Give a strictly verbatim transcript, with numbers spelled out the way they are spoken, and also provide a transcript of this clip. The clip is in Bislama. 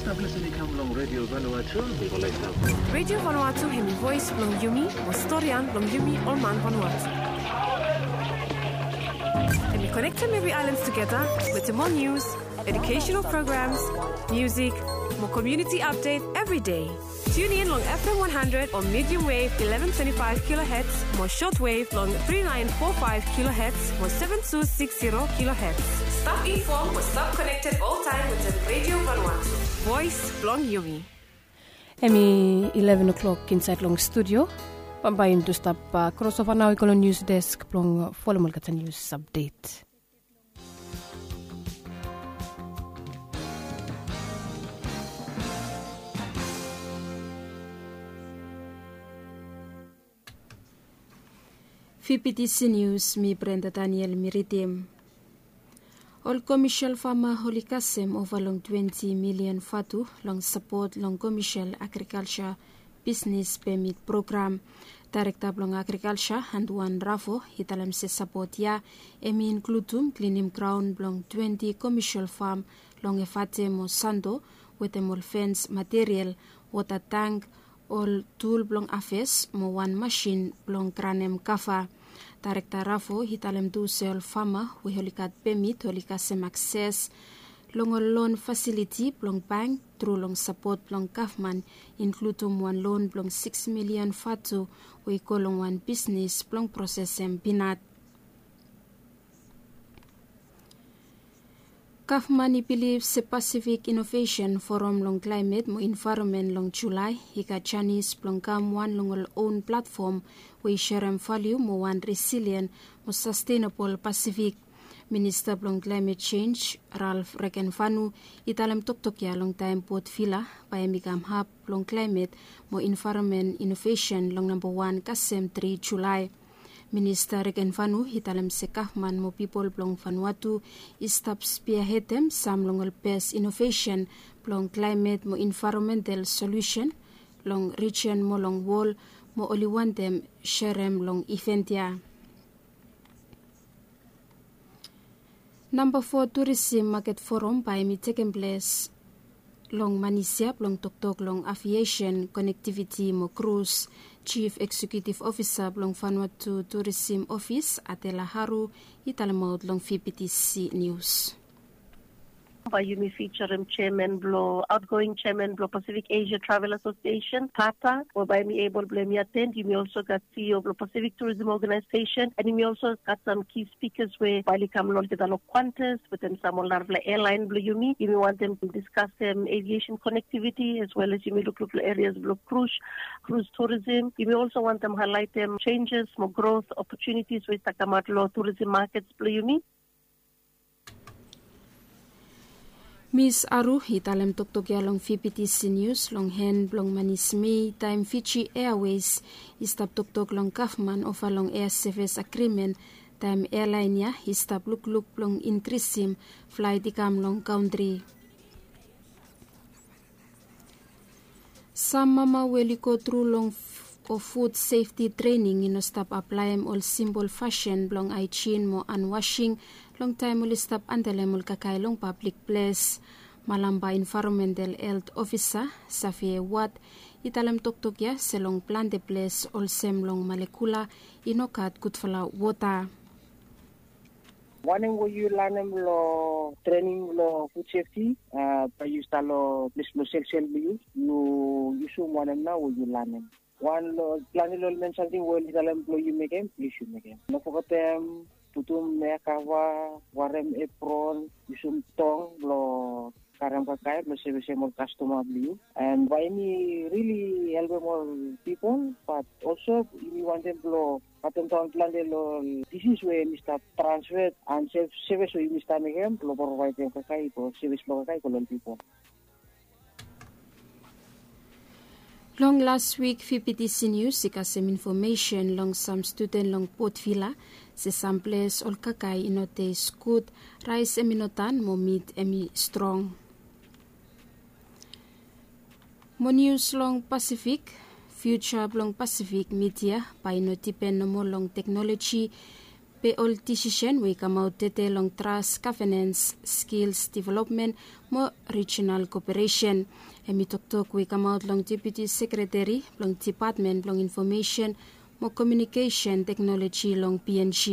Stap lisin i kam long Radio Vanuatu. Radio Vanuatu hemi voes blong yumi, mo storian blong yumi ol man Vanuatu. Hemi konektem evri aelan tugeta wetem ol nius, educational programs, musik, mo community update evri dei. Tune in long F M one hundred o medium wave eleven twenty-five kilohertz mo short wave long three nine four five kilohertz mo seven two six zero kilohertz. Stap informed mo stap connected oltaem wetem Radio Vanuatu. Voes blong yumi. Hemi eleven o'clock insaed long studio. Bambae yumi tu stap, uh, crossover nao i go long news desk blong folem olgeta news update. Fifty C News, mi Brenda Daniel mi ridim. Ol komesial fama oli kasem ova long twenti milian vatu long sapot long komesial agrikalsa bisnes pemit program. Daerekta blong agrikalsa Anduan Ravo i talem se sapot ya hemi inkludum klinim graon blong twenti komesial fam long Efate mo Santo wetem ol fens material, wota tang, ol tul blong aves mo wan masin blong granem kava. Daerekta Ravo i talem tu se ol fama we oli gat pemit oli kasem akses long ol lon fasiliti blong bank tru long sapot blong gavman, inkludum wan lon blong sikis milian vatu we i go long wan bisnes blong prosesem pinat. Gavman i bilif se Pasifik Inovesen Foram long Klaemet mo Envaeronmen long Julae i gat janis blong kam wan long ol on platfom we i serem valiu mo wan resilien mo sastenabol Pasifik. Minista blong Klaemet Jenj, Ralph Regenvanu, i talem toktok ya long taem Port Vila bae hemi kam hab blong klaemet mo envaeronmen inovesen long namba wan kasem tri Julae. Minista Regenvanu i talem se gavman mo pipol blong Vanuatu i stap spiahedem sam long ol bes inovesen blong klaemet mo envaeronmental solusen long rijen mo long wol, mo oli wantem serem long iven ya. Namba fo Turisim Maket Foram bae hemi tekem ples long Manisia blong toktok long aviesen, konektiviti mo krus. Jif Eksekiutif Ofisa blong Vanuatu Turisim Ofis, Adela Haru, i talemaot long V B T C Nius. Bae yumi fijarem jeaman blong, aotgoing jeaman blong Pacific Asia Travel Association, pata, we bae hemi ebol blong hemi aten. Yumi olso gat C E O blong Pacific Tourism Organization, and yumi olso gat sam ki spikas we bae oli kam long olgeta long Qantas wetem sam ol narafala ealaen blong yumi. Yumi wantem diskasem aviesen konektiviti as well as yumi lukluk long erias blong krus, krus turisim. Yumi olso wantem haelaetem jenjes mo grot opotunitis we i stap kamaot long turisim makets blong yumi. Mis Aru i talem toktok ya long V B T C Nius long hen blong manis Mei taem Fiji Airways i stap toktok long gavman ova long ea sevis agrimen, taem ealaen ya i stap lukluk blong inkrisim flaet i kam long kantri. Sam mama we oli go tru long f-, o fud sefti trening i no stap aplaem ol simpol fasin blong aejin mo anwasing long taem oli stap andelem ol kakae long pablik ples. Malamba Envaeronmental Helt Ofisa, Savie Wat, i talem toktok ya se long plante ples olsem long Malekula i no gat gudfala wota. Wanem we yu lanem long trening blong fud sefti, a, bae yu stap long ples blong selsel blong yu, yu yusum wanem nao we yu lanem. Wan long plante long ol men samting we oli talem blong yu mekem, plis yu mekem. No fogetem putum ea kava, warem epron, yusum tong blong karem kakae blong sevisem ol kastoma blong yu. And bae yumi rili helpem ol pipol, bat olso yumi wantem blong katemdaon plante long ol disis we yumi stap transfet and sevis we yumi stap mekem blong provaedem kakae i go, sevis blong kakae i go long ol pipol. Long las wik, V B T C Nius i kasem infomesen long sam studen long Port Vila se sam ples ol kakae i no tes gud, raes hemi no tan mo mit hemi strong. Mo nius long Pasifik, fiuja blong Pasifik midia bae i no dipen nomo long teknoloji Be ol disisen we i kamaot tede long tras gavenens, skils developmen mo rijinal koperesen. Hem i toktok we i kamaot long depiuti sekreteri blong depatmen blong infomesen mo komiunikesen teknoloji long png.